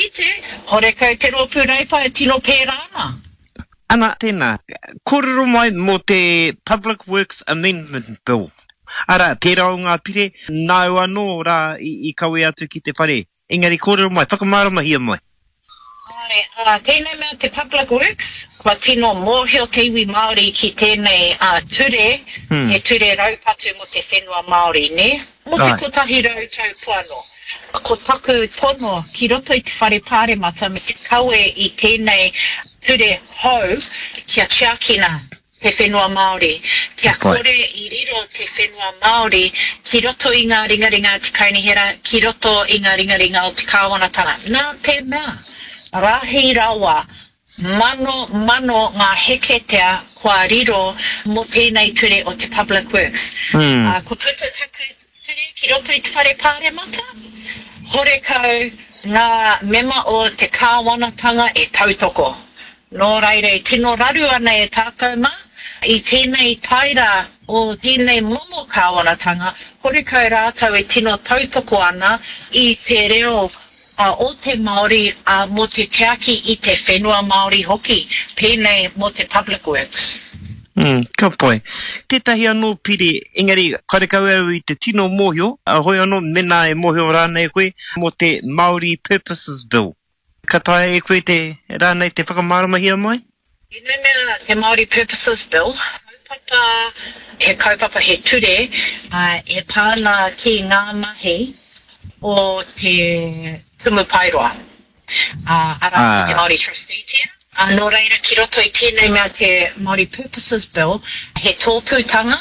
kite, horekau te Rōpū Reipa e tino pērā ana. Ana, tēnā, kōrero mai mō te Public Works Amendment Bill. Arā, tērā o ngā pire, nāu anō rā i kawe atu ki te whare. Engari kōrero mai, whakamāramahia mai. Āe, ā, tēnei mea te Public Works, kua tino mōhio te iwi Māori ki tēnei ture, he ture raupatu mō te whenua Māori, nē? Mō te 100 tau poano. Ko taku tono ki roto i te Whare Pāremata me te kawe i tēnei ture hou kia tiakina te whenua Māori, kia kore i riro te whenua Māori ki roto i ngā ringaringa a te Kaunihera, ki roto i ngā ringaringa o te Kāwanatanga. Nā te mea, rahi rawa, manomano ngā heketea kua riro mō tēnei ture o te Public Works. Kua puta taku ture ki roto i te Whare Pāremata, horekau ngā mema o te Kāwanatanga e tautoko. Nō reira e tino raru ana e tātou mā, i tēnei taera o tēnei momo kāwanatanga, horekau rātou e tino tautoko ana i te reo o te Māori, ā, mō te tiaki i te whenua Māori hoki, pēnei mō te Public Works. Mm, ka pai. Tētahi anō pire, engari karekau au i te tino mōhio, hoi anō, mēnā e mōhio rānei koe, mō te Māori Purposes Bill. Ka taea e koe te, rānei te whakamāramahia mai? Tēnei mea te Māori Purposes Bill, kaupapa, he kaupapa, he ture e pā ana ki ngā mahi o te Tumu Paeroa, arā, ki te Māori Trustee tērā. Nō reira, ki roto i tēnei mea te Māori Purposes Bill, he tōpūtanga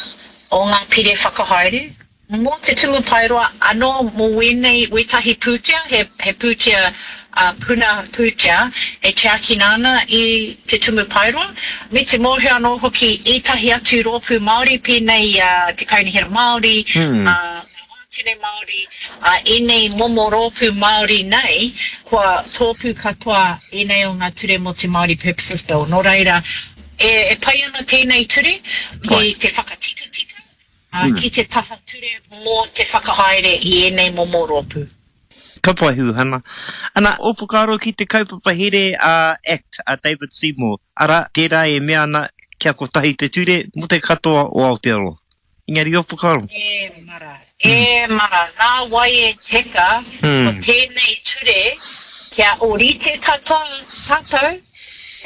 o ngā pire whakahaere, Mō te Tumu Paeroa anō mō wēnei wētahi pūtea, he, he pūtea, ā, puna pūtea e tiakina ana i te Tumu Paeroa, me te mōhio anō hoki ētahi atu rōpū Māori pēnei i a Te Kaunihera Māori, ā, ngā Wātene Māori, ā, ēnei momo rōpū Māori nei, kua tōpū katoa ēnei o ngā ture mō te Māori Purposes Bill. Nō reira, e, e pai ana tēnei ture ki te whakatikatika, Ā, ki te taha ture mō te whakahaere i ēnei momo rōpū. Ka pai Huhana. Ana, ō whakaaro ki te kaupapa here a act a David Seymour, arā, tērā e mea ana kia kotahi te ture mō te katoa o Aotearoa. Engari ō whakaaro? E mara, e mara, nā wai e teka ko tēnei ture kia ōrite katoa tātou?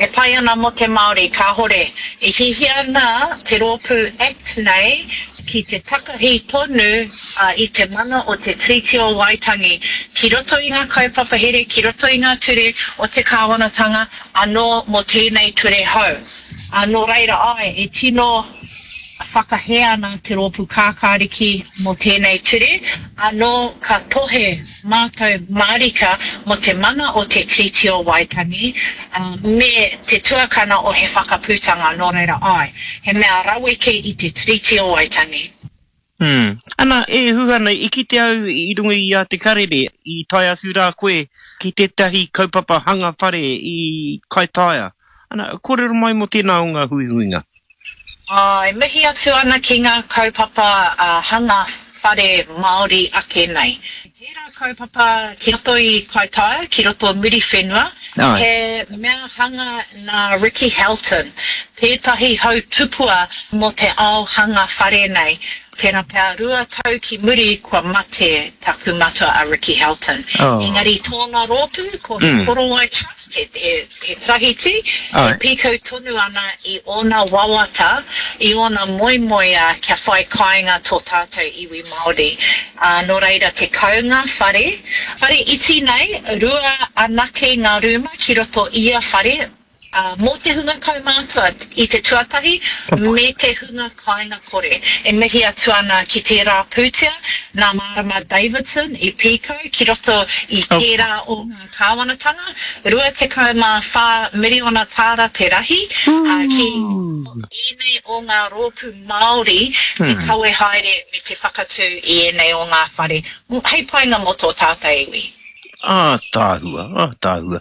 E pai ana mō te Māori, kāhore. E hiahia ana te rōpū act nei ki te takahi tonu i te mana o te Tiriti o Waitangi ki roto i ngā kaupapa here, ki roto i ngā ture o te kāwanatanga anō mō tēnei ture hou. Nō reira, āe, e tino whakahē ana te Rōpū Kākāriki mō tēnei ture, anō ka tohe mātou mārika mō te mana o te Tiriti o Waitangi me te tuakana o He Whakaputanga, nō reira āe, he mea raweke i te Tiriti o Waitangi. Mm. Ana, e Huhana, i kite au i runga i a Te Karere, i tae atu rā koe ki tētahi kaupapa hanga whare i Kaitaia. Ana, kōrero mai mō tēnā o ngā huihuinga. Ā, e mihi atu ana ki ngā kaupapa hanga whare Māori ake nei. Tērā kaupapa ki roto i Kaitaia, ki roto o Muriwhenua, he mea hanga nā Ricky Helton, tētahi hau tupua mō te ao hanga whare nei. Tērā pea 2 tau ki muri kua mate taku matua a Ricky Helton. Engari tōna rōpū ko He Korowai Trust, he He tarahiti, e pīkau tonu ana i ōna wawata, i ōna moemoeā kia whai kāinga tō tātou iwi Māori. Ā, nō reira, 10 ngā whare, whare iti nei, rua anake ngā rūma ki roto i ia whare, ā, mō te hunga kaumātua i te tuatahi, me te hunga kāinga kore. E mihi atu ana ki tērā pūtea nā Marama Davidson i pīkau ki roto i tērā o ngā. Kāwanatanga, 24 miriona tāra te rahi, ā, ki ēnei o ngā rōpū Māori te kawe haere me te whakatū i ēnei o ngā whare, hei painga mō tō tātou iwi. Ātaahua, ātaahua.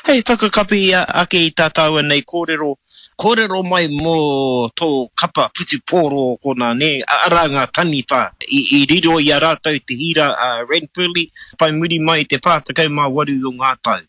Hei whakakapi ake i tā tāua nei kōrero, kōrero mai mō tō kapa whutupōro o konā, nē, arā ngā taniwha i riro i a rātou te hīra a Ranfurly whai muri mai i te 48 o ngā tau.